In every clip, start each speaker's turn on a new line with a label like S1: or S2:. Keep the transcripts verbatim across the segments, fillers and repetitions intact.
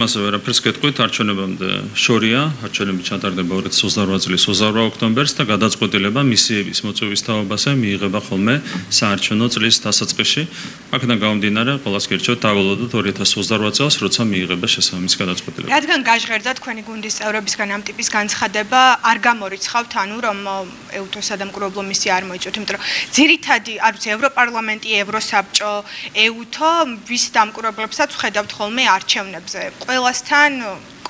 S1: მასე ვერაფერს გეტყვით, არჩევნებამდე შორია, არჩევნები ჩატარდება ორი ათას ოცდაოთხ წლის ოცდაოთხ ოქტომბერს და გადაწყვეტილება მისიების მოწვევის თაობაზე მიიღება ხოლმე საარჩევნო წლის დასაწყისში. აქედან გამომდინარე, ყველას გერჩევთ დავალოდოთ ორი ათას ოცდაოთხ წელს, როცა მიიღება შესაბამისი გადაწყვეტილება.
S2: რადგან გაჟღერდა თქვენი გუნდის წევრებისგან ამ ტიპის განცხადება, არ გამორიცხავთ, ანუ რომ ეუთოს სადამკვირვებლო მისია არ მოიწვიოთ, იმიტომ რომ ძირითადი, არ ვიცი, ევროპარლამენტი, ევროსაბჭო, ეუთო ვის დამკვირვებლებსაც ხედავთ ხოლმე არჩევნებზე. ყველასთან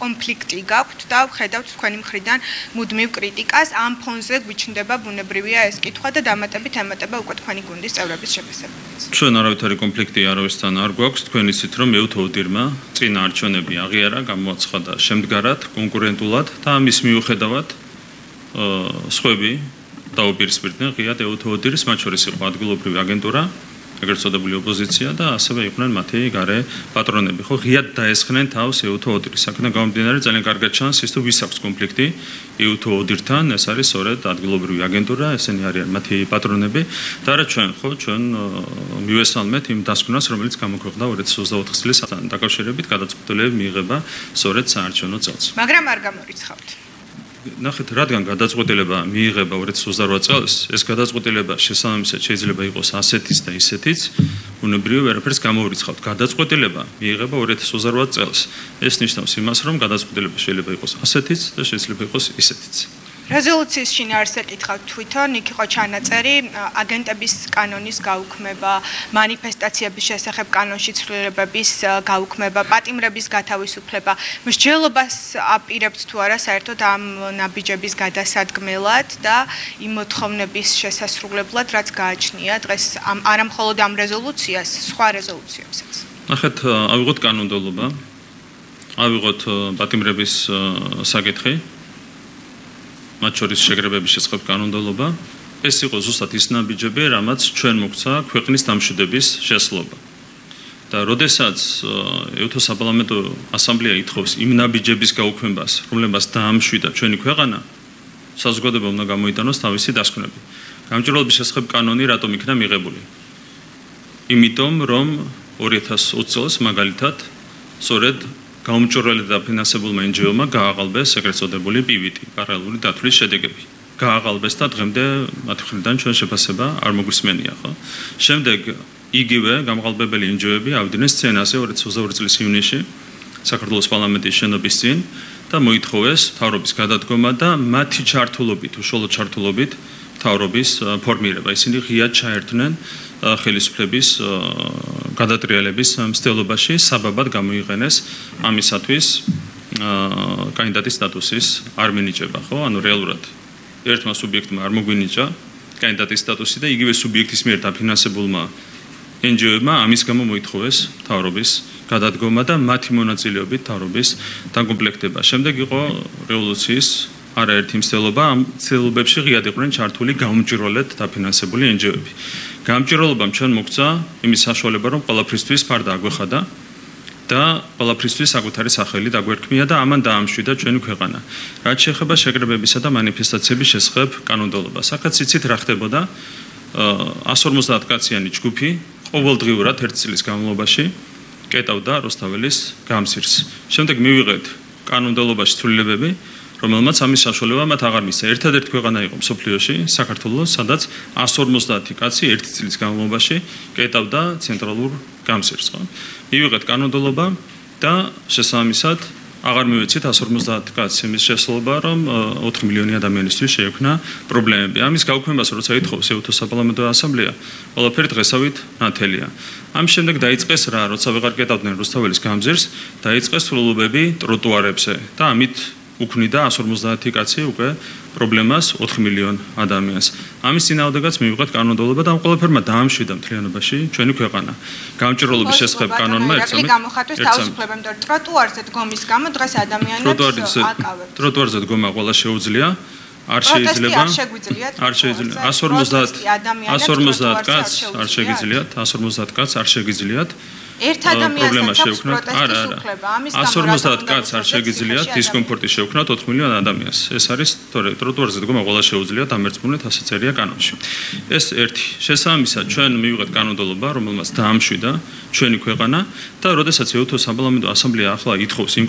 S2: კონფლიქტი გაქვთ და ხედავთ თქვენი მხრიდან მუდმივ კრიტიკას, ამ ფონზე გვიჩნდება ბუნებრივია ეს კითხვა და დამატებით ემატება უკვე თქვენი გუნდის წევრების შეფასებებს.
S1: ჩვენ არავითარი კონფლიქტი არავისთან არ გვაქვს, თქვენ იცით რომ ეუთო ოდირმა წინა არჩევნები აღიარა, გამოაცხადა შემდგარად, კონკურენტულად და ამის მიუხედავად სხვები დაუპირისპირდნენ ღიად ეუთო ოდირის, მათ შორის იყო ადგილობრივი აგენტურა, ეგრეთ წოდებული ოპოზიცია და ასევე იყვნენ მათი გარე პატრონები. ხო, ღიად დაესხნენ თავს ეუთო ოდირის. აქედან გამომდინარე, ძალიან კარგად ჩანს ის თუ ვის აქვს კონფლიქტი ეუთო ოდირთან, ეს არის სწორედ ადგილობრივი აგენტურა, ესენი არიან მათი პატრონები და არა ჩვენ, ხო, ჩვენ მივესალმეთ იმ დასკვნას, რომელიც გამოქვეყნდა ორი ათას ოცდაოთხ წლის დაკავშირებით გადაწყვეტილება მიიღება სწორედ საარჩევნო წელს.
S2: მაგრამ არ გამორიცხავთ.
S1: ნახეთ, რადგან გადაწყვეტილება მიიღება ორი ათას ოცდაოთხ წელს, ეს გადაწყვეტილება შესაბამისად შეიძლება იყოს ასეთის და ისეთიც, ბუნებრივია ვერაფერს გამოვირიცხავთ. გადაწყვეტილება მიიღება ორი ათას ოცდაოთხ წელს. ეს ნიშნავს იმას, რომ გადაწყვეტილება შეიძლება იყოს ასეთიც და შეიძლება იყოს ისეთიც.
S2: რეზოლუციის შინაარსზე კითხავთ თვითონ, იქ იყო ჩანაწერი აგენტების კანონის გაუქმება, მანიფესტაციების შესახებ კანონში ცვლილებების გაუქმება, პატიმრების გათავისუფლება. მსჯელობას აპირებთ თუ არა საერთოდ ამ ნაბიჯების გადასადგმელად და იმ მოთხოვნების შესასრულებლად, რაც გააჩნია დღეს არა მხოლოდ ამ რეზოლუციას, სხვა რეზოლუციებსაც.
S1: ნახეთ, ავიღოთ კანონმდებლობა, ავიღოთ პატიმრების საკითხი. მათ შორის შეგრებების შესახებ კანონმდებლობა, ეს იყო ზუსტად ის ნაბიჯები, რამაც ჩვენ მოგვცა ქვეყნის დამშვიდების შესაძლებლობა. და როდესაც ეუთოს საპარლამენტო ასამბლეა ითხოვს იმ ნაბიჯების გაუქმებას, რომლებსაც დაამშვიდა ჩვენი ქვეყანა, საზოგადოება უნდა გამოიტანოს თავისი დასკვნები. გამჭვირვალობის შესახებ კანონი რატომ იქნა მიღებული? იმიტომ, რომ ორი ათას ოცი წელს მაგალითად სწორედ გაუმჭვირვალე და ფინანსებულმა εν ჯი ო-მა გააყალბეს ეგრეთ წოდებული პი ვი ტი, პარალელური დათვლის შედეგები. გააყალბეს და დღემდე მათი მხრიდან ჩვენ შეფასება არ მოგვისმენია, ხო? შემდეგ იგივე გამყალბებელი εν ჯი ო-ები ავიდნენ სცენაზე ორი ათას ოცდაორი წლის ივნისში საქართველოს პარლამენტის შენობის წინ და მოითხოვეს მთავრობის გადადგომა და მათი ჩართულობით, უშუალო ჩართულობით მთავრობის ფორმირება. ისინი ღიად ჩაერთნენ ხელისუფლების გადატრიალების მცდელობაში, საბაბად გამოიყენეს ამისათვის კანდიდატის სტატუსის არ მინიჭება, ხო? ანუ რეალურად ერთმა სუბიექტმა არ მოგვინიჭა კანდიდატის სტატუსი და იგივე სუბიექტის მიერ დაფინანსებულმა εν ჯი ო-ებმა ამის გამო მოითხოვეს მთავრობის გადადგომა და მათი მონაწილეობით მთავრობის დაკომპლექტება. შემდეგ იყო რევოლუციის არაერთი მცდელობა, ამ მცდელობებში ღიად იყვნენ ჩართული გაუმჭვირვალედ დაფინანსებული εν ჯი ო-ები. გამჭვირვალობამ ჩვენ მოგვცა იმის საშუალება, რომ ყველაფრისთვის ფარდა აგვეხადა და ყველაფრისთვის საკუთარი სახელი დაგვერქმია და ამან დაამშვიდა ჩვენი ქვეყანა. რაც შეეხება შეკრებებისა და მანიფესტაციების შესახებ კანონმდებლობას, აქაც იცით რა ხდებოდა, εκατს ორმოცდაათ კაციანი ჯგუფი ყოველდღიურად ერთი წლის განმავლობაში კეტავდა რუსთაველის გამსირს. შემდეგ მივიღეთ კანონმდებლობაში ცვლილებები, რომელმაც ამის საშუალება მათ აღარ მისცა. ერთადერთი ქვეყანა იყო მსოფლიოში, საქართველო, სადაც εκατს ორმოცდაათი კაცი ერთი წლის განმავლობაში კეტავდა ცენტრალურ გამსირს, ხო? მივიღეთ კანონმდებლობა და შესაბამისად აღარ მივეცით εκατს ორმოცდაათი კაცის იმის შესაძლებლობა, რომ ოთხი მილიონი ადამიანისთვის შეექმნა პრობლემები. ამის გაუქმებას როცა ითხოვს ეუთოს საპარლამენტო ასამბლეა, ყველაფერი დღესავით ნათელია. ამის შემდეგ დაიწყეს რა, როცა ვეღარ კეტავდნენ რუსთაველის გამზირს, დაიწყეს ცვლილებები ტროტუარებზე და ამით უქმნიდა εκατს ორმოცდაათი კაცი უკვე პრობლემას ოთხ მილიონ ადამიანს. ამის წინააღმდეგაც მივიღეთ კანონმდებლობა და ამ ყველაფერმა დაამშვიდა მთლიანობაში ჩვენი ქვეყანა. გამჭვირვალობის შესახებ კანონმა ერთსამით
S2: გამოხატვის თავისუფლება, იმიტომ რომ ტროტუარზე დგომის გამო დღეს ადამიანებს აკავებთ.
S1: ტროტუარზე დგომა ყველა შეუძლია, არ შეიძლება, არ შეიძლება. εκατს ორმოცდაათი კაც არ შეგიძლიათ, εκατს ორმოცდაათი კაც არ შეგიძლიათ.
S2: ერთ ადამიანს
S1: პრობლემა
S2: აქვს
S1: შეექმნათ.
S2: პროტესტის უფლება. ამის გამო
S1: ას ორმოცდაათ კაცს არ შეგიძლიათ
S2: ციხეში
S1: დისკომფორტი შეექმნათ ოთხ მილიონ ადამიანს. ეს არის თორე ტროტუარზე დგომა ყველა შეუძლიათ ამერწმუნეთ, ასე წერია კანონში. ეს ერთი. შესაბამისად, ჩვენ მივიღეთ კანონმდებლობა, რომელმაც დაამშვიდა ჩვენი ქვეყანა და როდესაც ეუთო საპარლამენტო ასამბლეა ახლა ითხოვს იმ